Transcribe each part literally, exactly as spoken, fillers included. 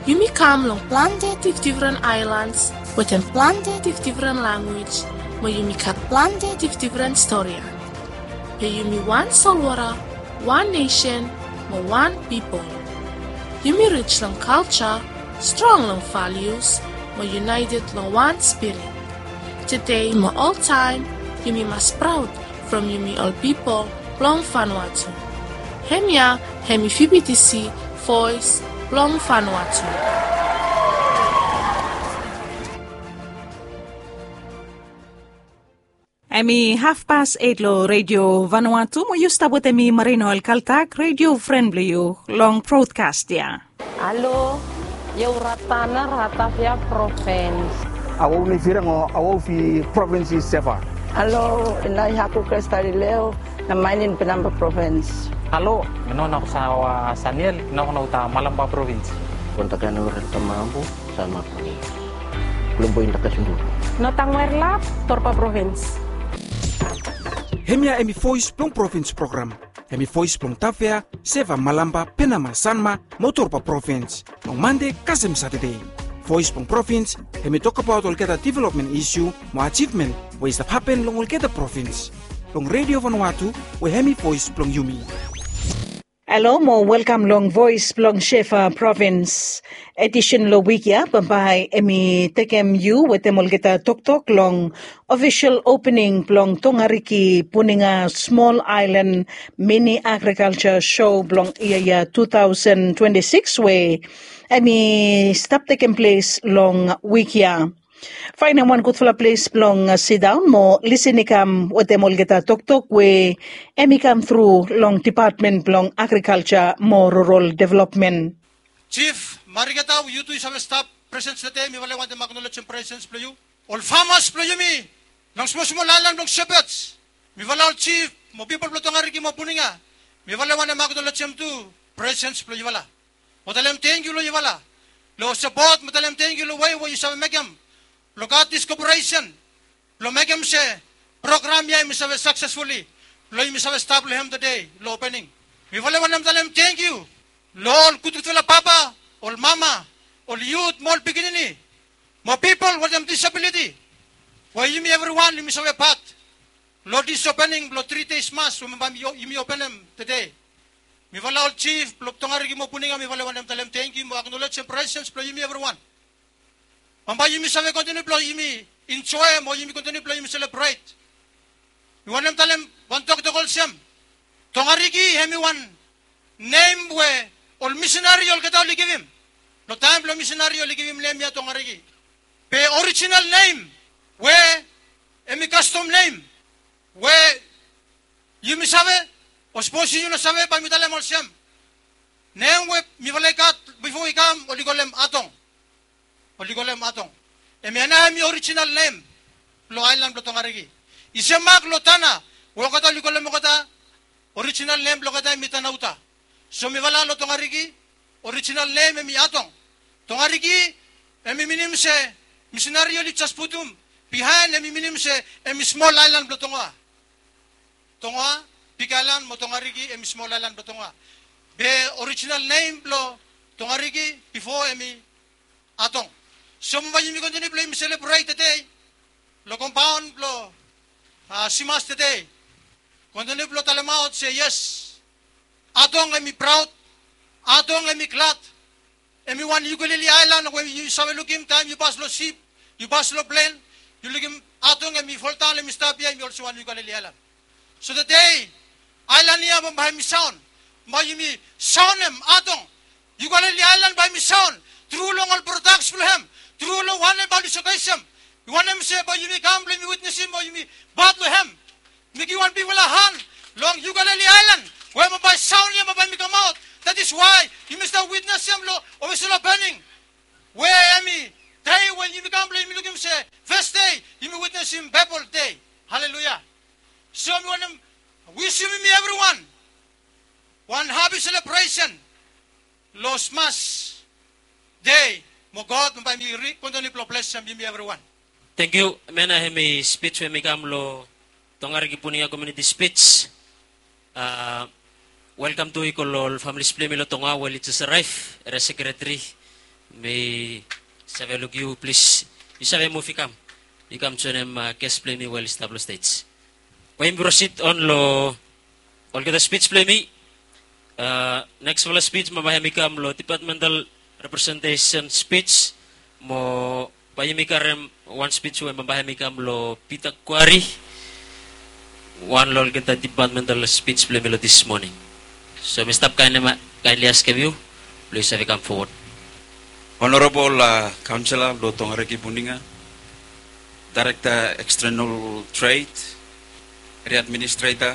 Yumi kam long plante difdifren aelans wetem plante difdifren lanwis, mo yumi gat plante difdifren storian. Be yumi wan solwota, wan nesen, mo wan pipol. Yumi rij long kalja, strong long values, mo united long wan spirit. Tede mo oltaem, yumi mas praod from yumi ol pipol blong Vanuatu. Hemia hemi V B T C, Voes blong Vanuatu. Hemi hafpas eit long Redio Vanuatu, mo yu stap wetem mi, Marino Alkaltak, redio fren blong yu, long brodkas ya. Halo, io Ratana, Ratavia Provins. Awau ni firang o awau fi provins i Seva. Halo, ina i Haku Krestalileo, na mainin Penamba Provins. Halo, mi no na kusawa Saniel, na kuna uta Malamba Provins. Kontakan urel tamambu, sama Provins. Kulumbo inda kasundu. Notang Werlap, Torpa Provins. Hemia hemi Voes blong Provins program. Hemi Voes blong Tavea, Seva, Malamba, Penama, Sanma, mo Torpa Provins. Long Mande kasem Satade. Voes blong Provins, hemi tokbaot olgeta developmen isu mo ajivmen we i stap hapen long olgeta provins. Long Redio Vanuatu, we hemi voes blong yumi. Halo mo welkam long Voes blong Seva Provins. Edisen long wik ya bambae hemi tekem yu wetem olgeta toktok long ofisol opening blong Tongariki Puninga Smol Aelan Mini Agrikalja Sho blong yia ya tu taosen twenti sikis we hemi stap tekem ples long wik ya. Faenem wan gudfala ples blong sidaon mo lisin i kam wetem olgeta toktok we hemi kam tru long Depatmen blong Agrikalja mo Rural Developmen. Jif Marigeta, yu tu yu save stap presen tede, mi vale wantem aknolejem presens blong yu. Ol famas blong yumi long smosmol aelan blong Shepherds, mi vale ol jif mo pipol blong Tongariki mo Puninga, mi vale wantem aknolejem tu presens blong yufala. Mo talem tangkiu long yufala long sapot, mo talem tangkiu long wei we yu save mekem blong gat dis koporesen blong mekem se program ya hemi save saksesfuli blong yumi save stap long hem tede long opening. Mi vale wantem talem tangkiu long ol gudgudfala papa, ol mama, ol yut mo ol pikinini mo pipol wetem disabiliti we yumi evriwan yumi save pat long dis opening blong tri deis mas we bambae yumi openem tede. Mi vale ol jif blong Tongariki mo Puninga, mi vale wantem talem tangkiu mo aknolejem presens blong yumi evriwan. Bambae yumi save kontiniu blong yumi enjoem o yumi kontiniu blong yumi selebret. Mi wantem talem wan toktok olsem, Tongariki hemi wan nem we ol misinari olgeta oli givim. Long taem blong misinari oli givim nem ya Tongariki. Be orijinal nem we hemi kastom nem we yumi save, o sapos yu no save bae mi talem olsem, nem we mifala i gat bifo i kam oli kolem Atong. Oli kolem Atong. Hemia nao hemi orijinal nem blong aelan blong Tongariki. I semak long Tana we olgeta oli kolem olgeta orijinal nem blong olgeta hemi Tanauta. So mifala long Tongariki orijinal nem hemi Atong. Tongariki hemi minim se misinari oli jes putum bihaen, hemi minim se hemi smol aelan blong Tongoa. Tongoa, Big Island mo Tongariki hemi smol aelan blong Tongoa. Be orijinal nem blong Tongariki bifo hemi Atong. So bambae yumi kontiniu blong yumi selebret tede long kompaon blong Simas tede. Kontiniu blong talemaot se yes, Atong hemi praod, Atong hemi glad. Hemi wan Ukulele Aelan we yu save lukim taem yu pas long sip, yu pas long plen, yu lukim Atong hemi foldaon, hemi stap ya, hemi olsem wan Ukulele Aelan. So tede aelan ya bambae hemi saon, bae yumi saonem Atong. Ukulele Aelan bae hemi saon tru long ol prodaks blong hem, tru long wanem bae oli sokeisem. Wanem se bae yumi kam blong yumi witnesem o yumi pat long hem. Mi givim wan bigfala han long Ukulele Aelan we bambae saon ya bambae hemi kamaot. That is why yumi stap witnesem long ofisol opening we hemi dei we yumi kam blong yumi lukim se fes dei yumi witnesem Baebol Dei. Haleluya. So mi wantem wisim yumi evriwan wan hapi selebresen long Simas Dei, mo God bambae hemi kontiniu blong blesem yumi evriwan. Tangkiu. Hemia nao hemi spij we hemi kam long Tongariki Puninga Community Speech. A, welkam tu i go long ol familis blong yumi long Tongoa we oli jes araev, eria sekreteri, Mi save luk yu, plis, yu save muv i kam, i kam joinim ges blong yumi we oli stap long stej. Bae yumi prosid on long olgeta spij blong yumi. Neksfala spij bambae hem i kam long dipatmental representesen spij. Mo bae yumi karem wan spij we bambae hem i kam long Pita Kwari, wan long olgeta dipatmental spij blong yumi long dis moning. So mi stap kaenli askem yu blong yu save kam fowod. Honorabol kaonsela blong Tongariki Buninga, Daerekta Ekstenel Tred, Eria Administreta,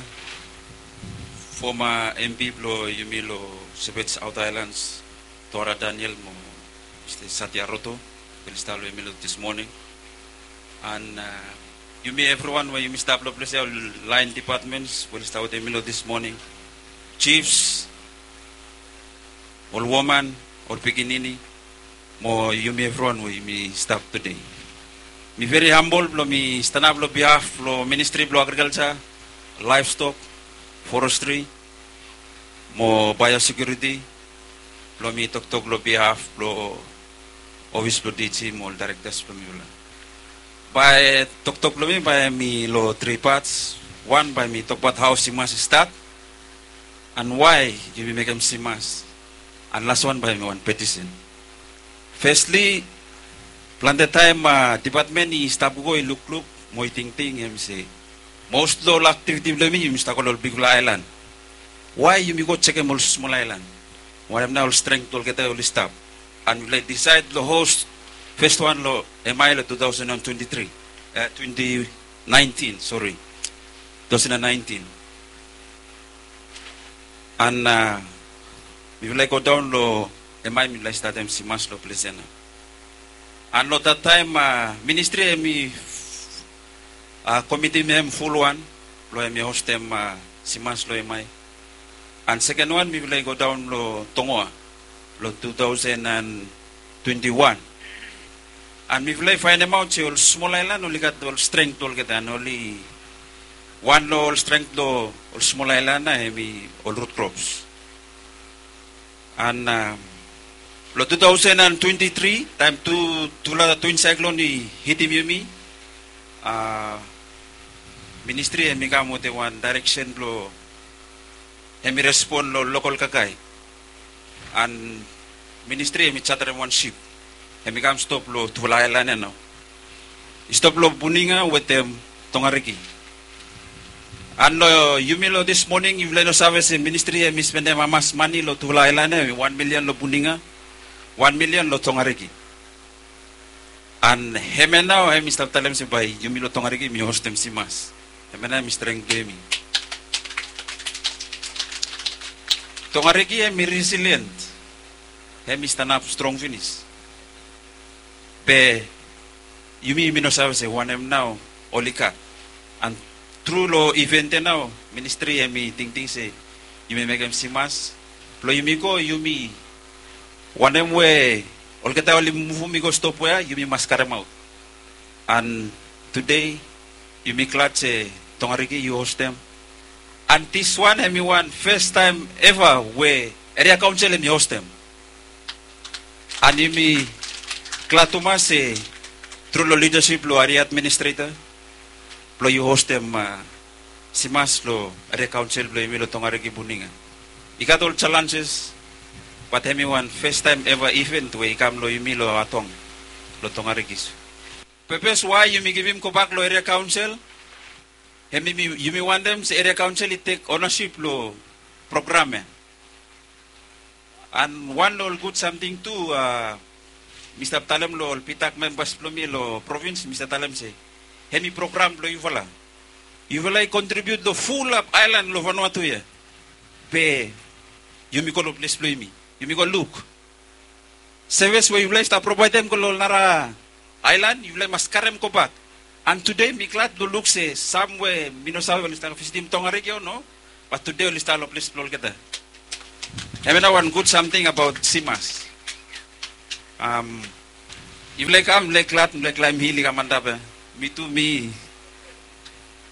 foma MP blong yumi long Sebej Aota Aelans, Tora Daniel mo Mista Satya Roto, we oli stap long yumi long dis moning. An yumi evriwan we yumi stap long ples ya, ol laen dipatmens we oli stap wetem yumi long dis moning, jifs, ol woman, ol pikinini, mo yumi evriwan we yumi stap tede. Mi veri hambol blong mi stanap long bihaf blong Ministri blong Agrikalja, Laevstok, Forestri mo Baeosekiuriti blong mi toktok long bihaf blong ofis blong DG mo ol daerektas blong mifala. Bae toktok blong mi bae hem i long tri pats. Wan, bae mi tokbaot hao simas i stat, an wae yumi mekem simas, an laswan bae hem i wan petisen. Fesli, plante taem dipatmen i stap go i lukluk mo i tingting hem se, mos long ol aktiviti blong yumi, yumi stap go long ol bigfala aelan. Wae yumi go jekem ol smol aelan? Wanem nao ol strength blong olgeta oli stap? An mifala i disaed long hos fes wan long MI long two thousand and twenty-three, twenty nineteen, sori, two thousand and nineteen. An mifala i godaon long MI, mifala i statem simas long ples ya nao. An long dat taem ministri hem i komitim hem fulwan blong hem i hostem simas long MI. An seken wan mifala i godaon long Tongoa long two thousand and twenty-one. An mifala i faenemaot se ol smol aelan oli gat ol strength blong olgeta, an oli, wan long ol strength blong ol smol aelan nao hem i ol rut krops. An long two thousand and twenty-three, taem tu, tufala twin saeklon i hitim yumi, ministri hem i kam wetem wan daereksen blong hem i respon long lokol kakae. An ministri hem i jaterem wan sip, hem i kam stop long tufala aelan ya nao. I stop long Buninga wetem Tongariki. An long yumi long dis moning, yufala i no save se ministri hem i spendem hamas mane long tufala aelan ya, hem i wan milian long Buninga, wan milian long Tongariki. An hemia nao hem i stap talem se bae yumi long Tongariki yumi hostem simas. Hemia nao hem i strength blong yumi. Tongariki hem i resilient, hem i stanap strong finis. Be yumi, yumi no save se wanem nao oli gat. An tru long iven ya nao, ministri hem i tingting se yumi mekem simas blong yumi go, yumi, wanem we olgeta oli muvum i go stop we ya, yumi mas karemaot. An tede yumi glad se Tongariki yu hostem. An diswan hem i wan fes taem eva we eria kaonsel hem i hostem. An yumi glad tumas se tru long lidasip blong eria administreta blong yu hostem simas long eria kaonsel blong yumi long Tongariki Buninga. I gat ol jalenjes, bat hem i wan fes taem eva iven we i kam long yumi long Atong, long Tongariki. Pepes wae yumi givim gobak long eria kaonsel, hem i, yumi wantem se eria kaonsel i tek onasip long program ya. An wan long ol gud samting tu, mi stap talem long ol pitak membas blong mi long provins, mi stap talem se hem i program blong yufala. Yufala i kontribiut long fulap aelan long Vanuatu ya. Be yumi go long ples blong yumi, yumi go luk. Sevis we yufala i stap provaedem go long ol nara aelan, yufala i mas karem gobak. An tede mi glad blong luk se sam we mi no save oli stap visitim Tongariki o no, bat tede oli stap long ples blong olgeta. Hemia nao wan gud samting abaot simas. Yufala i kam, mifala i glad, mifala i klaem hil i kam antap ya. Mi tu mi,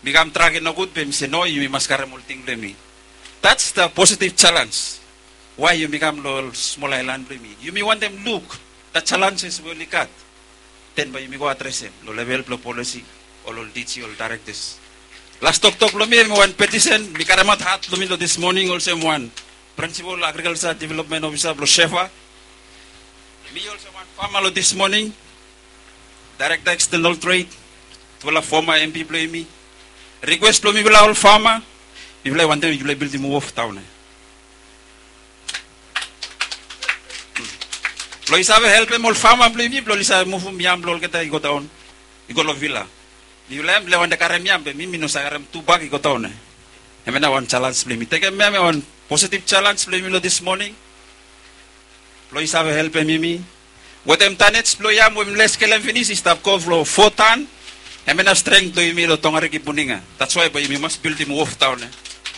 mi kam trak i nogud be mi se no, yumi mas karem ol ting blong yumi. That's the positive challenge. Wae yumi kam long ol smol aelan blong yumi? Yumi wantem luk Challenges we oli gat, then bae yumi go adresem long level blong policy, ol ol D G, ol directors. Las toktok blong mi hemi wan petition mi karemaot hat blong mi long this morning olsem wan principal agriculture development officer blong Shefa. Mi olsem wan farmer long this morning, director external trade, tufala former M P blong yumi. Request blong mifala ol farmer, mifala i wantem yufala i bildim wharf daon ya. Blong i save helpem ol farmer blong yumi blong oli save muvum yam blong olgeta i go daon, i go long vila. Mifala ya mifala i wantem karem yam be mi mi no save karem tu bak i go daon ya. Hemia nao wan challenge blong yumi tekem ya hemia wan positive challenge blong yumi long this morning. Blong i save helpem yumi wetem tonnage blong yam we mifala i skelem finis i stap go long fo ton. Hemia nao strength blong yumi long Tongariki, Buninga. That's why bae yumi mas bildim wharf daon ya.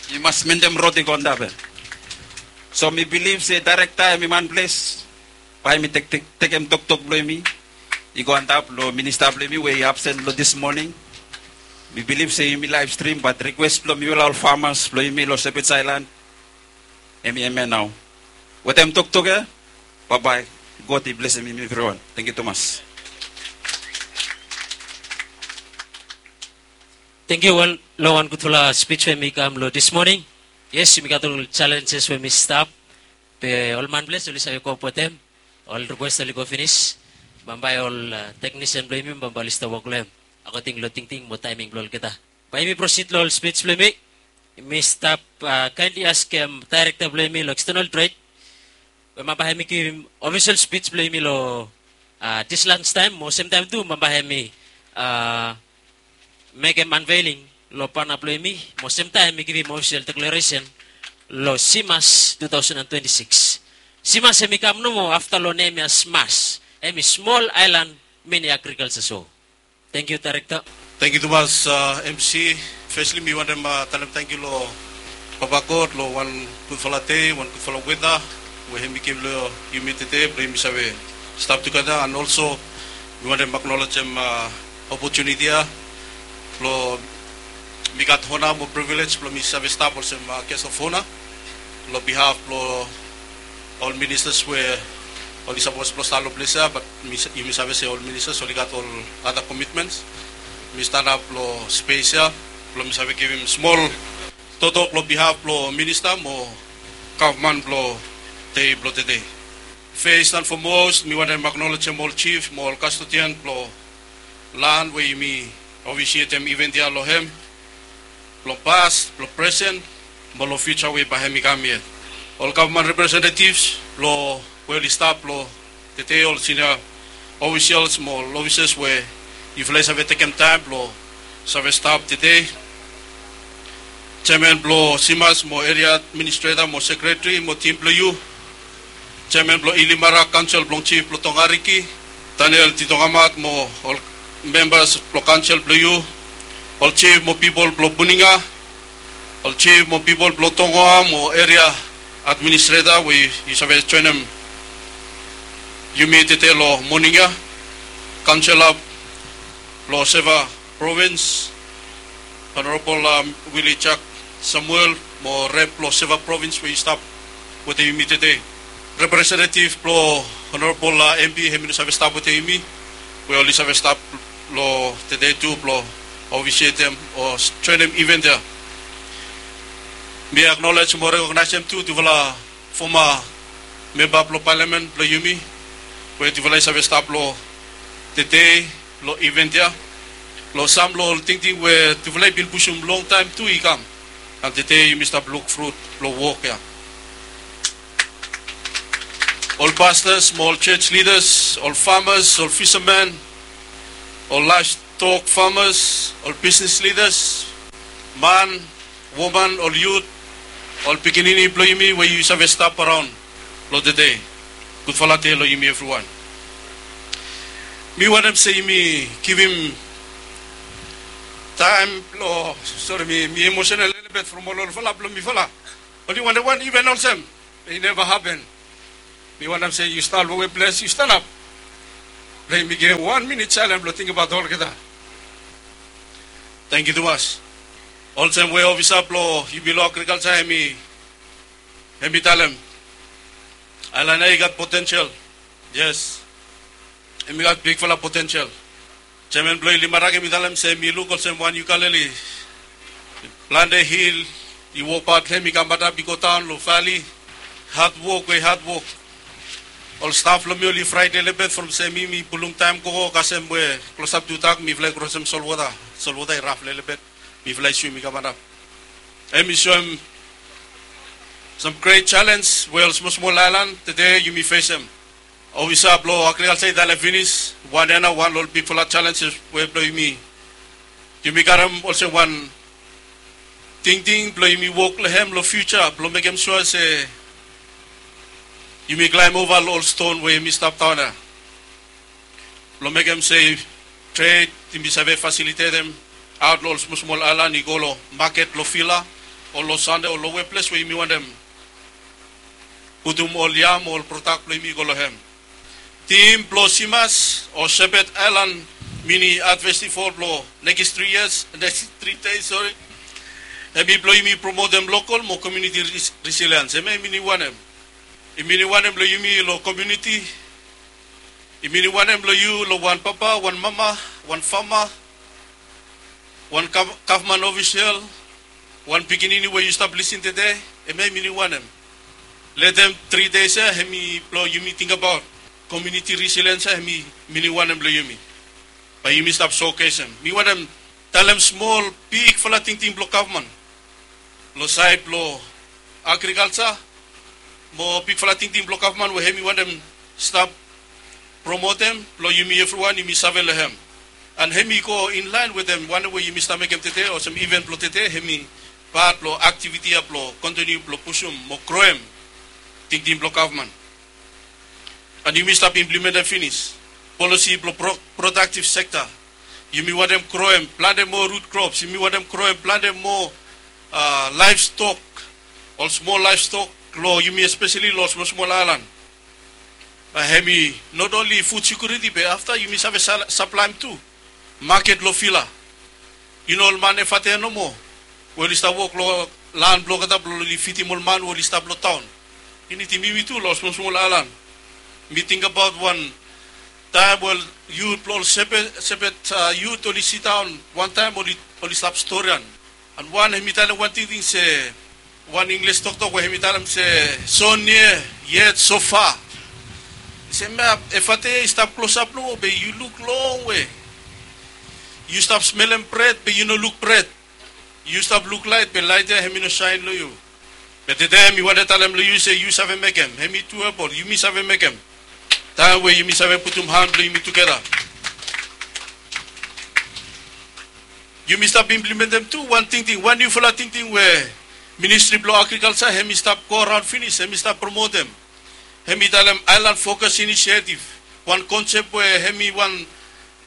Yumi mas mentem rod i go antap ya. So mi bilif se director hemi man ples, bae hemi tek- tek- tekem toktok blong yumi i go antap long minister blong yumi we i absent long this morning. Mi bilif se yumi live stream, but request blong mifala ol farmers blong yumi long Shepherd's Island, hemi hemia nao. Wetem toktok ya, baebae. God i blesem yumi evriwan. Tangkiu tumas. Tangkiu. Wel, long wan gudfala speech we hemi kam long this morning, yes, yumi gat ol challenges we hemi stap, be ol man ples oli save kop wetem. Ol request oli go finis. Bambae ol technician blong yumi bambae oli stap wok long hem according long tingting mo taeming blong olgeta. Bae yumi proceed long ol speech blong yumi. Yumi stap kindly askem director blong yumi long external trade we bambae hemi givim official speech blong yumi long this lunch taem mo semtaem tu bambae hemi mekem unveiling long bana blong yumi mo semtaem hemi givim official declaration long CMAS two thousand and twenty-six. CMAS hemi kam nomo afta long nem ya SMAS, hemi Small Island Mini Agriculture Show. Tangkiu, director. Tangkiu tumas, MC. Firstly mi wantem talem tangkiu long Papa God long wan gudfala dei, wan gudfala weta we hemi givim long yumi tede blong yumi save stap tugeta, and also mi wantem acknowledgem opotuniti ya blong mi gat honor mo privilege blong mi save stap olsem guest of honor long behalf blong ol ministers we oli sapos blong stap long ples ya, but yumi save se ol ministers oli gat ol other commitments. Mi stanap long space ya blong mi save givim smol toktok long behalf blong minista mo gavman blong dei blong tede. First and foremost mi wantem acknowledgem ol chief mo ol custodian blong lan we yumi officiatem event ya long hem, blong past, blong present, mo long future we bae hemi kam yet. Ol gavman representatives blong we oli stap long tede, ol senior officials mo ol officers we yufala i save tekem taem blong save stap tede. Chairman blong CMAS mo area administrator mo secretary mo tim blong yu. Chairman blong Ilimara, kaonsel blong chief blong Tongariki, Daniel Titongamat mo ol membas blong kaonsel blong yu, ol chief mo pipol blong Buninga, ol chief mo pipol blong Tongoa mo area administrator we yu save joenem yumi tede long moning ya. Kaonsela blong Seva Provins, Honorable Willie Jack Samuel mo rep blong Seva Provins we i stap wetem yumi tede. Representative blong Honorable MP hemi no save stap wetem yumi, we oli save stap long tede tu blong officiatem o joenem event ya. Mi acknowledge mo recogniseem tu tufala former member blong parliament blong yumi we tufala i save stap long tede long event ya, long sam long ol tingting we tufala i bin pusum longtaem tu i kam. And tede yumi stap luk frut blong wok ya. Ol pastors mo ol church leaders, ol farmers, ol fishermen, ol livestock farmers, ol business leaders, man, woman, ol yut, ol pikinini blong yumi we yu save stap araon long tede. Gudfala dei long yumi evriwan. Mi wantem se yumi givim taem blong, sori, mi emotional lelebet from ol olfala blong mifala. Oli wantem wan iven olsem, i neva hapen. Mi wantem se yu stap long we ples, yu stanap. Blong yumi givim wan minit saelen blong tingbaot olgeta. Tangkiu tumas. Olsem we ofisa blong yumi long agrikalsa hemi talem, aelan ya i gat potensel. Yes. Hemi gat bigfala potensel. Jeaman blong Ilimarak hemi talem se mi luk olsem wan Uckalele. Plante hil i wokbaot hem i kam antap i go daon long vali. Hadwok we hadwok. Ol staf blong mi oli fraet lelebet from se mi mi pulum taem gogo kasem we klosap tudak mifala i krosem solwota. Solwota i raf lelebet. Mifala i swim i kam antap. Hemi soem sam gret jalenj we ol smosmol aelan tede yumi fesem. Ofisa blong agrikalja i talem finis, wan ya nao wan long ol bigfala jalenjes we blong yumi. Yumi karem olsem wan tingting blong yumi wok long hem long fiuja blong mekem sua se yumi klaem ova long ol ston we yumi stap daon ya. Blong mekem se tred yumi save fasilitetem aot long ol smosmol aelan i go long maket long vila o long Sande o long we ples we yumi wantem putum ol yam o ol prodak blong yumi i go long hem. Tim blong Simas o Sepet Aelan Mini Art Festival blong nekis tri yias, nekis tri dei, sori. Hemi blong yumi promotem lokol mo komuniti resiliens. Hemia yumi wantem. Yumi wantem blong yumi long komuniti. Yumi wantem blong yu long wan papa, wan mama, wan fama, wan gavman ofisel, wan pikinini we yu stap lisin tede, hemia yumi wantem. Long tri dei ya, hemi blong yumi tingbaot komuniti resiliens ya, hemi mi wantem blong yumi. Bae yumi stap soakesem. Mi wantem talem smol bigfala tingting blong gavman long saed blong agrikalja mo bigfala tingting blong gavman we hemi wantem stap promotem blong yumi evriwan yumi save long hem. An hemi go inlaen wetem wanem we yumi stap mekem tede olsem iven blong tede, hemi pat blong aktiviti ya blong kontiniu blong pusum mo groem tingting blong gavman. An yumi stap implementem finis polisi blong pro- prodaktiv sekta. Yumi wantem groem plante moa rut krops, yumi wantem groem plante moa laevstok, ol smol laevstok long yumi, espeseli long ol smosmol aelan. Bae hemi not onli fud sekiuriti be afta yumi save saplaem tu maket long vila. Yu no ol man evate nomo we oli stap wok long lan blong olgeta blong oli fidim ol man we oli stap long taon. I nidim yumi tu long ol smosmol aelan. Mi tingbaot wan taem we ol yut blong ol Sepet, Sepet yut oli sidaon wantaem oli stap storian. An wan hemi talem wan tingting se wan Inglis toktok we hemi talem se, "So near yet so far." I se, "Map, evate i stap klosap nomo be yu luk longwe. Yu stap smelem bred be yu no luk bred. Yu stap luk laet be laet ya hemi no saen long yu." Be tede mi wantem talem long yu se yu save mekem, hemi tuebol, yumi save mekem. Taem we yumi save putum han blong yumi tugeta. Yumi stap implementem tu wan tingting, wan niufala tingting we Ministri blong Agrikalja hemi stap go raon finis, hemi stap promotem. Hemi talem Aelan Fokas Inisietiv, wan konsep we hemi wan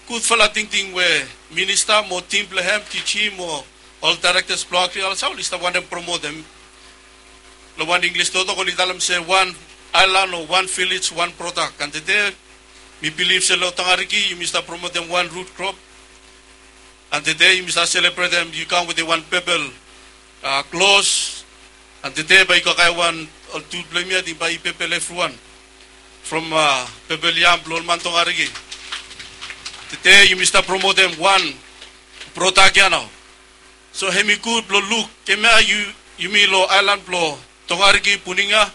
gudfala tingting we minista mo tim blong hem, DG mo ol daerektas blong agrikalja oli stap wantem promotem. Long wan Inglis toktok oli talem se wan aelan o wan vilej wan prodak. An tede mi bilif se long Tongariki yumi stap promotem wan rut krop. An tede yumi stap selebretem, yu kam wetem wan pepel klos. An tede bae yu kakae wan ol tu blong yumi, ating bae i pepel evriwan from pepel yam blong ol man Tongariki. Tede yumi stap promotem wan prodak ya nao. So hemi gud blong luk, hemia yumi long aelan blong Tongariki, Puninga,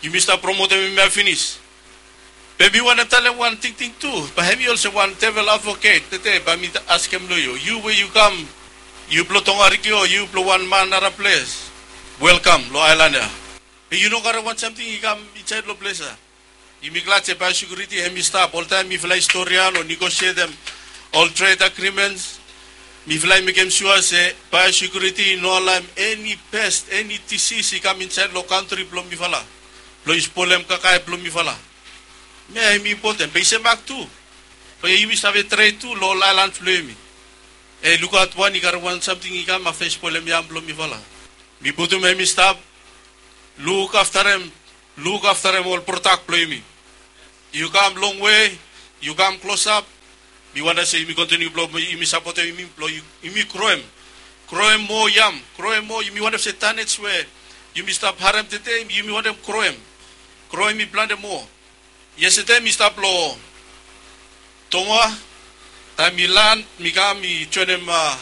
yumi stap promotem hemia finis. Be mi wantem talem wan tingting tu, bae hemi olsem wan devel advoket, tede bae mi askem long yu, yu we yu kam, yu blong Tongariki o yu blong wan man nara ples, welkam long aelan ya. Be yu no karem wan samting i kam insaed long ples ya. Yumi glad se baesekiuriti hemi stap, oltaem mifala i storian o negosietem ol tred agrimens. Mifala i mekem sua se baesekiuriti i no alaem eni pes, eni disis i kam insaed long kantri blong mifala blong i spolem kakae blong mifala. Hemia hemi impoten, be i semak tu. Bae yumi save tred tu long ol aelans blong yumi. E, lukaot wan i karem wan samting i kam afta i spolem yam blong mifala. Mi putum hemi stap, lukaftarem, lukaftarem ol prodak blong yumi. Yu kam longwe, yu kam klosap. Mi wantem se yumi kontiniu blong yumi sapotem yumi blong yumi kroem. Kroem moa yam, kroem moa, yumi wantem se tanets we yumi stap harem tede, yumi wantem kroem. Kroem i plante moa. Yestede mi stap long Tongoa, taem mi lan, mi kam, mi joenem, a,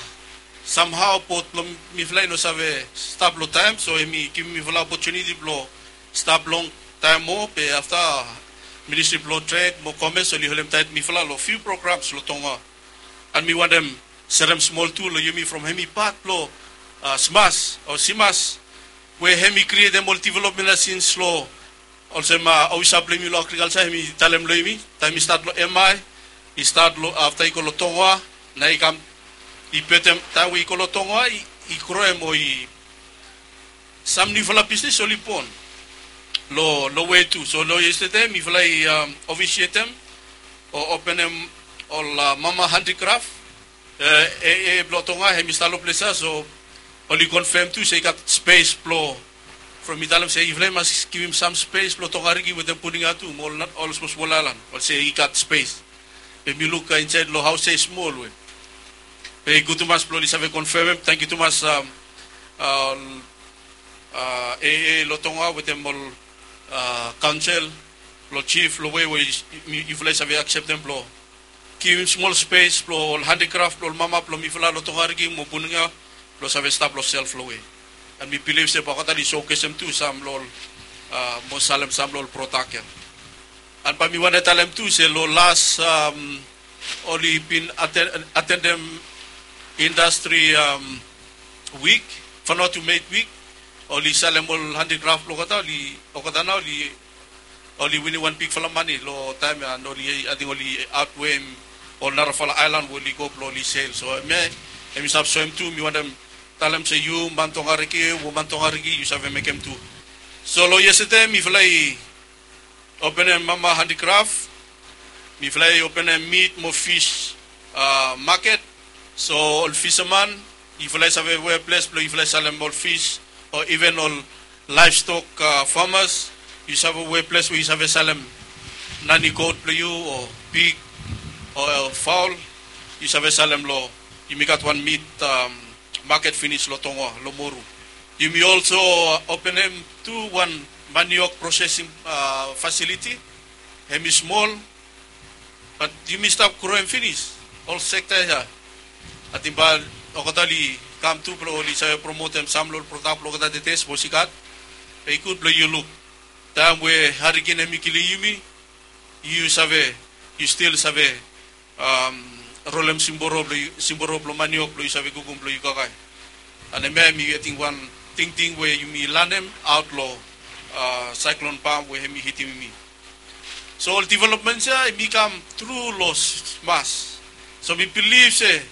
samhao bot blong mifala i no save stap long taem, so hemi givim mifala opotuniti blong stap longtaem moa, be afta Ministri blong Tred mo Komes oli holem taet mifala long fiu programs long Tongoa. An mi wantem serem smol tu long yumi from hemi pat blong, a, Smas o Simas, we hemi krietem ol developmen ya sins long olsem, a, ofisa blong yumi long agrikalja hemi talem long yumi, taem i stat long M I, i stat long, afta i go long Tongoa, nao i kam, i betem, taem we i go long Tongoa, i, i groem o i, sam niufala bisnis oli bon long, long we tu. So long yestede mifala i, am, ofisietem o openem ol, a, mama handikraf, e, e, e, blong Tongoa, hemi stap long ples ya, so oli konfem tu se i gat spes blong, from mi talem se yufala i mas givim sam spes blong Tongariki wetem Puninga tu, mo ol, ol smosmol aelan, oli se i gat spes. Be mi luk, a, insaed long haos ya i smol we. Be i gud tumas blong oli save konfemem, tangkiu tumas, am, a, ol, a, A A long Tongoa wetem ol, a, kaonsel, long jif, long we, we yufala i save akseptem blong givim smol spes blong ol handikraf blong ol mama blong mifala long Tongariki mo Puninga blong save stap long self long we. An mi bilif se bae olgeta oli sokesem tu sam long ol, a, mo salem sam long ol prodak ya. An bae mi wantem talem tu se long las, am, oli bin aten-, atendem indastri, am, wik, Vanuatu Made Week, oli salem ol handikraf blong olgeta, oli, olgeta nao oli, oli winim wan bigfala mane long taem ya, an oli, ating oli aotweim ol narafala aelan we oli go blong oli sel. So hemia, hemi stap soem tu, mi wantem talem se yu man Tongariki, woman Tongariki, yu save mekem tu. So long yestede mifala i openem mama handikraf, mifala i openem mit mo fis, a, maket. So ol fisaman, yufala i save we ples blong yufala i salem ol fis, o iven ol laevstok, a, famas, yu save we ples we yu save salem nani got blong yu, o pig, o, o faol, yu save salem long, yumi gat wan mit, am, maket finis long Tongoa, long Moru. Yumi olso openem tu wan maniok prosesing, a, fasiliti. Hemi smol, bat yumi stap groem finis ol sekta ya. Ating bae olgeta oli kam tu blong oli save promotem sam long ol prodak blong olgeta tede, sapos i gat. Be i gud blong yu luk. Taem we hariken hemi kilim yumi, yu save, yu stil save, am, rolem simboro blong yu, simboro blong maniok blong yu save kukum blong yu kakae. An hemia hemi ating wan tingting we yumi lanem aot long, a, saeklon Pam we hemi hitim yumi. So ol developments ya hemi kam tru long Smas. So mi bilif se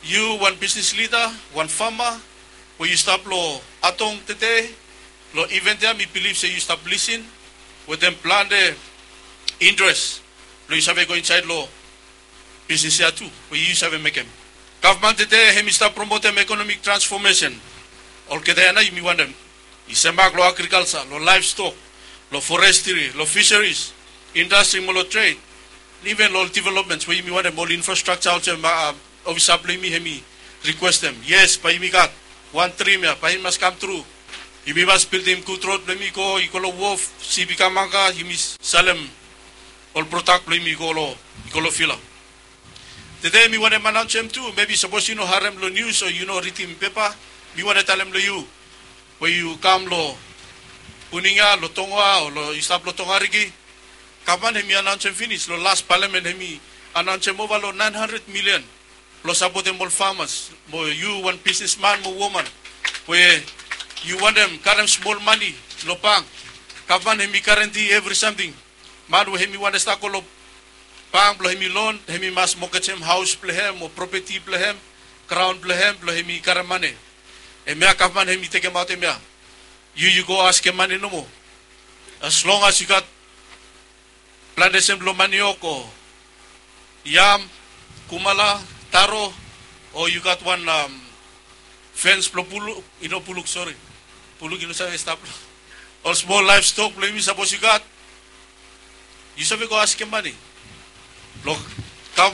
yu wan bisnis lida, wan fama, we yu stap long Atong tede, long iven ya mi bilif se yu stap lisin wetem plante intres blong yu save go insaed long bisnis ya tu we yu save mekem. Gavman tede hemi stap promotem ekonomik transfomesen. Olgeta ya nao yumi wantem i semak long agrikalja, long laevstok, long forestri, long fisaris, indastri mo long tred, iven long ol developments we yumi wantem ol infrastrakja olsem, a, ofisa blong yumi hemi rikwestem. Yes, bae yumi gat wan drim ya, bae i mas kamtru. Yumi mas bildim gud rod blong yumi go, i go long wof, sip i kam anga, yumi salem ol prodak blong yumi i go long, i go long fila. Tede mi wantem anaonsem tu, mebi sapos yu no harem long nius o yu no ridim pepa, mi wantem talem long yu, we yu kam long Puninga, long Tongoa, o long yu stap long Tongariki, gavman hemi anaonsem finis, long las palamen hemi anaonsem ova long naen handred milian blong sapotem ol famas, mo yu wan bisnisman mo woman we yu wantem karem smol mane long bank. Gavman hemi garanti evri samting. Man we hemi wantem stap go long bank blong hemi lon, hemi mas mogejem haos blong hem o propeti blong hem, graon blong hem, blong hemi karem mane. Hemia gavman hemi tekemaot hemia. Yu, yu go askem mane nomo. As long as yu gat plantesen blong maniok o yam, kumala, taro, o yu gat wan, am, fens blong buluk, i no buluk, sori. Buluk i no save stap long ol smol laevstok blong yumi, sapos yu gat, yu save go askem mane blong